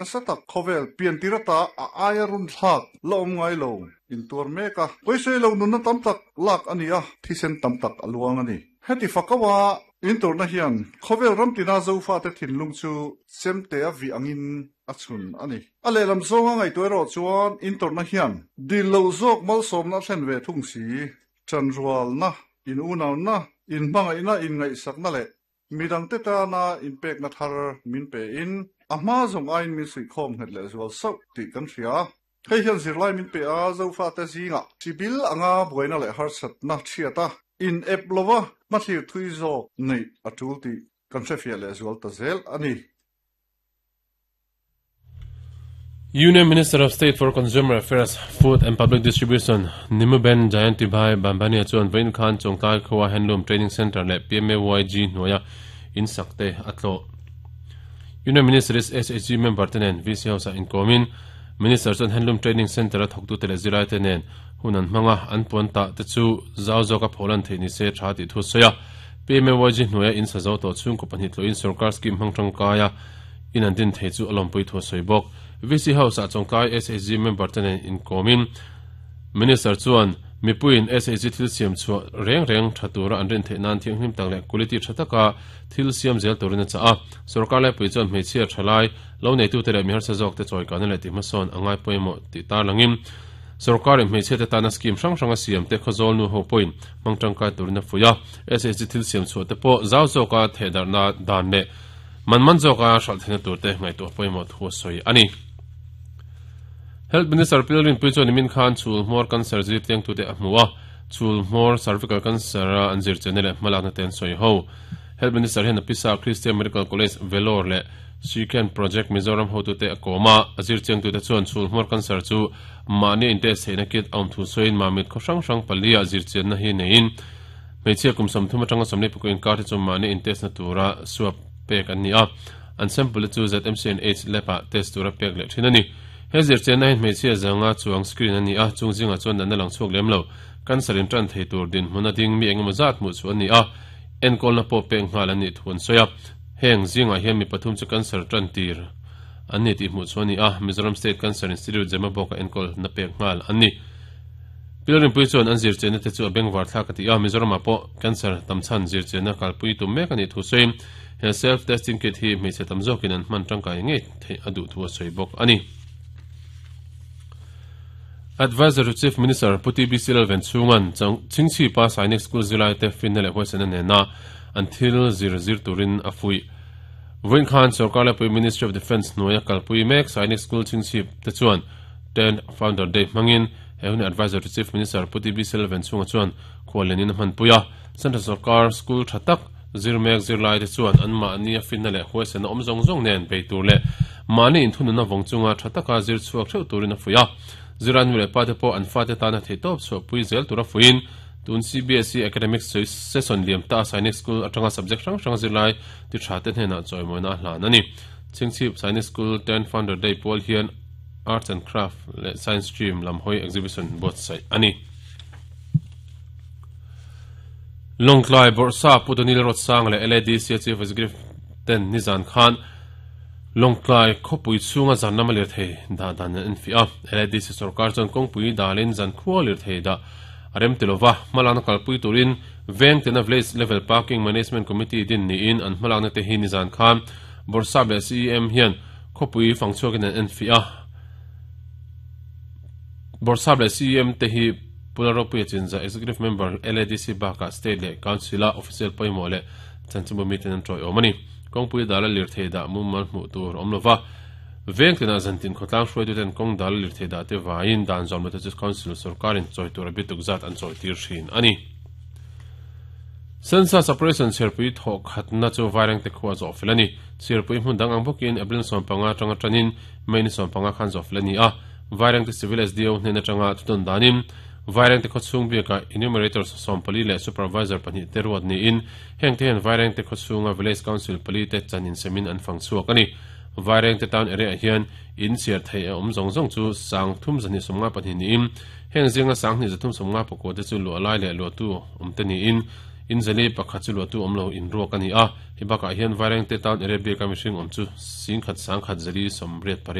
Nasa tak khawvel piantir ata a aia runthlak la awm ngai lo intuar mek a, pawisei lo nunna tam tak lak a ni a, thisen tam tak a luang a ni. Heti fakawa inturna hian khawvel ram tina Zofate thinlung chu chemte a vih angin a chhun a ni. A lehlam zawnga ngaihtuah erawh chuan inturna hian dil loh zawk malsawmna a thlen ve thung si, ṭanrualna, in unauna, inhmangaihna, inngaihsakna leh Midangte tana inpekna thar min pein a hma zawng aiin min suihkhawm nghet leh zual sauh tih kan hria. Hei hian zirlai min pe a, Zofate zingah chibil anga buaina leh harsatna chhiat a, in ep lova hmathlir thui zawk neih a tul tih kan hrefiah leh zual ta zel a ni. Union Minister of State for Consumer Affairs, Food and Public Distribution, Nimuben Jayantibhai Bambhania chuan vawiin khan Chawngtlai khua Handloom Training Centre leh PMAYG hnuaia in sak te a tlawh. Union Minister is SHG member te nen VC House ah inkawmin Minister chuan Handloom Training Centre a thawktute leh zirlaite nen hun an hmang a, an puan tah te chu zau zawka pholan theih nise tha tih thu a sawi a. PMAYG hnuaia in sa zo tawh chhungkaw pahnih tlawhin sorkar scheme hmang tangkaia in an din thei chu a lawmpui thu a sawi bawk. VC House-ah Chawngtlai SHG member te nen inkawmin Minister chuan mipuiin SHG thil siam chhuah reng reng tha tura an rin theih nan thianghlim tak leh quality tha taka thil siam zel turin a chah a. Sorkar laipui chuan hmeichhia thalai lo neitute leh mi harsa zawkte chawikana leh tihhmasawn a ngai pawimawh tih tarlangin sorkarin hmeichhiate tana scheme hrang hrang a siam te khawzawl nu ho pawhin hmang tangkai turin a fuih a. SHG thil siam chhuah te pawh zau zawka thehdarhna dan leh Man man zawka hralh theihna tur te ngaihtuah pawimawh thu a sawi a ni. Health Minister Pil Rinpui chuan nimin khan chhul hmawr cancer zir tlengtute a hmu a, chhul hmawr cervical cancer a an zir chenna leh hmalakna te an sawi ho. Health Minister hian a pisa Christian Medical College Vellore leh Shiken Project Mizoram hotute a kawm a, a zir chengtute chuan chhul hmawr cancer chu mahni a intest theihna kit a awm thu sawiin mamit khaw hrang hrang palia zir chianna hi neiin Hmeichhia kum 30 atanga 44 inkar hi chu mahni intest na tura swab pek an ni a, an sample te chu ZMC and aids lab ah test tura pek leh thin a ni. He zirchianna hian hmeichhia zanga chuang screen a ni a, chung zingah chuan natna lang chhuak lem lo, cancer in tan thei tur dinhmun a ding mi engemaw zat hmuh chu a ni a, enkawlna pawh pek nghal an nih thu an sawi a. Heng zingah hian mi pathum chu cancer tan tir an ni tih hmuh chu a ni a, Mizoram State Cancer Institute Zemabawk-a enkawlna pek nghal an ni. Pilrinpui chuan an zirchianna te chu a bengvar thlak a ti a, Mizoramah pawh cancer tam chhan zirchianna kalpui tum mek a nih thu sawiin he self testing kit hi hmeichhe tam zawkin an hman tangkai ngei theih a duh thu a sawi bawk a ni. Adviser to Chief Minister Pu TBC Lalvenchhunga'n Chhingchhipa Sainik School zirlaite finna leh huaisena nena an thil zir zir turin a fuih. Vawiin khan Sorkar Laipui Ministry of Defence hnuaia kalpui mek Sainik School Chhingchhip te chuan Tenth Founder Day hmangin he hun Adviser to Chief Minister Pu TB Selvan chhunga chuan khuallianin a hmanpui a. Central Sorkar School tha tak zir mek zirlaite chuan anmahni a finna leh huaisena awm zawng zawng nen bei tur leh mahni inthununa vawng chunga tha taka zir chhuak theuh turin a fuih a. Zirlai nu leh pate pawh an fate tana theihtawp chhuahpui zel tura fuihin tun CBSE Academic Session liam ta Sainik School atanga subject hrang hrang zirlai ti tha te hnenah chawimawina a hlan a ni. Chhingchhip Sainik School Tenth Founder Day pual hian Arts and Craft leh Science Stream lam hawi exhibition buatsaih a ni. Lawngtlai Bawrhsa Pu Donil Rotsang leh LADC Chief Executive ten nizan khan Lawngtlai khawpui chhunga zan lama lirthei dah dan an enfiah a. LADC sorkar chuan kawngpui dalin zan khua lirthei dah a rem ti lova, hmalakna kalpui turin veng tena Village Level Parking Management Committee din niin an hmalakna te hi nizan khan Bawrhsap leh CEM hian Khawpui fang chhuakin an enfiah a, Bawrhsap leh CEM te hi Pu Lalropuia Chinza, Executive Member LADC bakah State leh Council-a official pawimawh leh chanchinbu miten an tawiawm a ni. Kawngpui dala lirthei dah mumal hmuh tur awm lova, veng tinah zantin khawtlang hruaituten kawng dala lirthei dah te vaiin dan zawm lote chu Council sorkarin chawi tur a bituk zat an chawitir thin a ni. Census Operation chhiarpui thawh khatna chu Vairengte khua zawh fel a ni. Chhiarpui hmun dang ang bawkin April 15 atanga tanin May ni 15 khan zawh fel a ni a. Vairengte Civil SDO hnen atanga thudawn danin Vairengte khawchhung biakah Enumerators 14 leh Supervisor pahnih te ruat niin hengte hian Vairengte khawchhunga Village Council pali te chan insemin an fang chhuak a ni. Vairengte Town area ah hian in chhiar theih a awm zawng zawng chu 3252 niin heng zinga 2354 te chu luah lai leh luahtu awm te niin. In 401 chu luahtu awm lo in ruak a ni a, hei bakah hian Vairengte town area biaka mihring awm chu 10,148.